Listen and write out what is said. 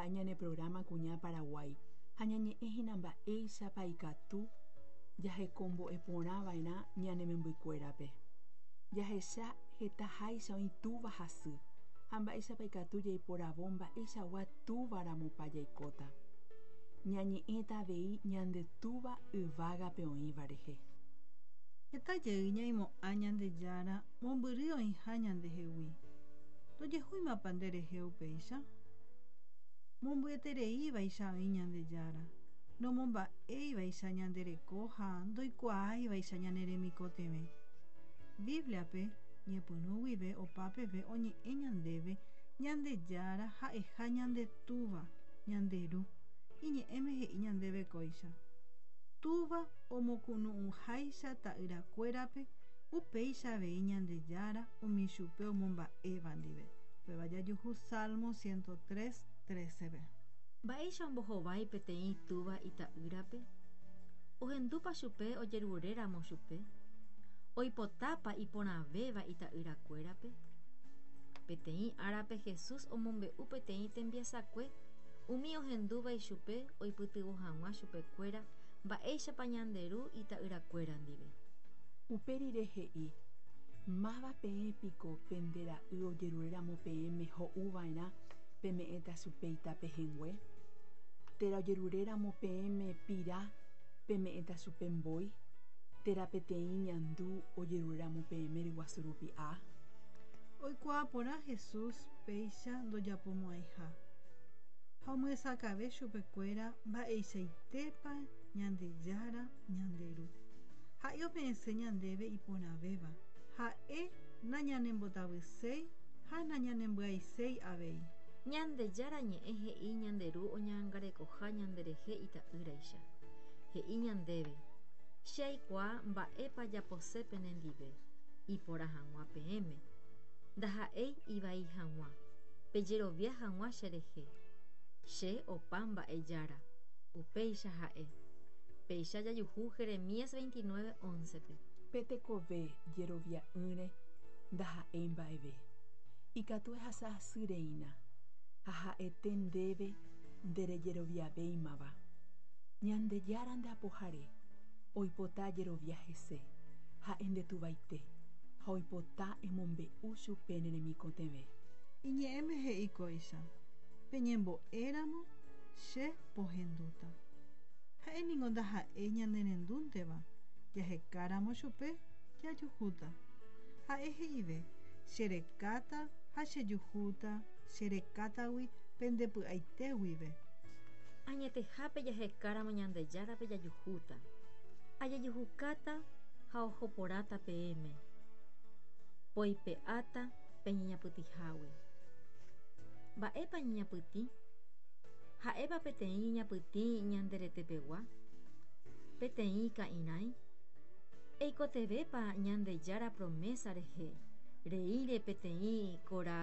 ha'e ñane programa Kuña Paraguái ha ñañe'ẽhína mba'éichapa ikatu jahekombo'eporãva'erã ñane membykuérape. Jahecha hetaháicha oĩ túva ha sy, ha mba'éichapa ikatu jaiporavo mba'eichagua túvaramopa jaikóta. Ñañe'ẽta avei ñande Túva yvágape oĩva rehe. Heta jey ñaimo'ã Ñandejára mombyry oĩha ñandehegui. Ndojehúimapa nderehe upéicha? Mombyetereívaicha oĩ Ñandejára, nomomba'éivaicha ñande reko ha ndoikuaáivaicha ñane remikotevẽ. Bíbliape, ñepyrũ guive opa peve oñe'ẽ ñandéve Ñandejára ha'eha ñande Túva, ñande Ru. Iñe'ẽme he'i ñandéve kóicha, Túva omokunu'ũháicha ta'yrakuérape, upéicha avei Ñandejára umi chupe omomba'éva ndive. Upéva jajuhu Salmo 103, 13-pe. Mba'éicha ombohovái peteĩ túva ita'ýrape? Ohendúpa chupe ojeruréramo chupe? Oipotápa iporãvéva ita'yrakuérape? Peteĩ árape Jesús omombe'u peteĩ tembiasakue umi ohendúva ichupe oipytyvõ hag̃ua chupekuéra mba'éichapa ñande Ru ita'yrakuéra ndive. Upe rire he'i, Máva peẽ piko pende ra'y ojeruréramo peẽme ho'u va'erã peme'ẽta chupe ita pehẽngue? Térã ojeruréramo peẽme pira peme'ẽta chupe mbói? Térã peteĩ ñandu ojeruréramo peẽme ryguasu rupi'a? Oikuaa porã Jesús péicha ndojapomo'ãiha, ha omyesakãve chupekuéra mba'eichaitépa Ñandejára ñande Ru. Ha'e ome'ẽse ñandéve iporãvéva, ha'e nañanembotavyséi ha nañanembyaiséi avei. Ñandejára Ñe'ẽ he'i ñande Ru oñangarekoha ñanderehe ita'ýraicha. He'i ñandéve, Che aikuaa mba'épa japose penendive, iporã hag̃ua peẽme, ndaha'éi ivai hag̃ua, pejerovia hag̃ua cherehe. Che opa mba'e Jára. Upéicha ha'e. Péicha jajuhu Jeremías 29, 11-pe. Pe tekove jerovia'ỹre ndaha'éi mba'eve. Ikatu ehasa asy reína, ha ha'ete ndéve nderejeroviavéimava. Ñandejára nde Apohare, oipota ajerovia hese, ha'e nde Tuvaite, ha oipota emombe'u chupe ne remikotevẽ. Iñe'ẽme he'i kóicha, Peñembo'éramo, che pohendúta. Ha'e ningo ndaha'éi ñanerendúnteva, jahekáramo chupe, jajuhúta. Ha'e he'ive, Che rekáta ha chejuhúta, che rekátagui pende py'aite guive. Añetehápe jahekáramo Ñandejárape jajuhúta. Ajejuhukáta ha oho porãta peẽme. Poipe'áta peñeñapytĩhágui. Mba'épa ñeñapytĩ? Ha'épa peteĩ ñeñapytĩ ñande retepegua? Peteĩ ka'irãi? Eikotevẽpa Ñandejára promésa rehe reíre peteĩ kora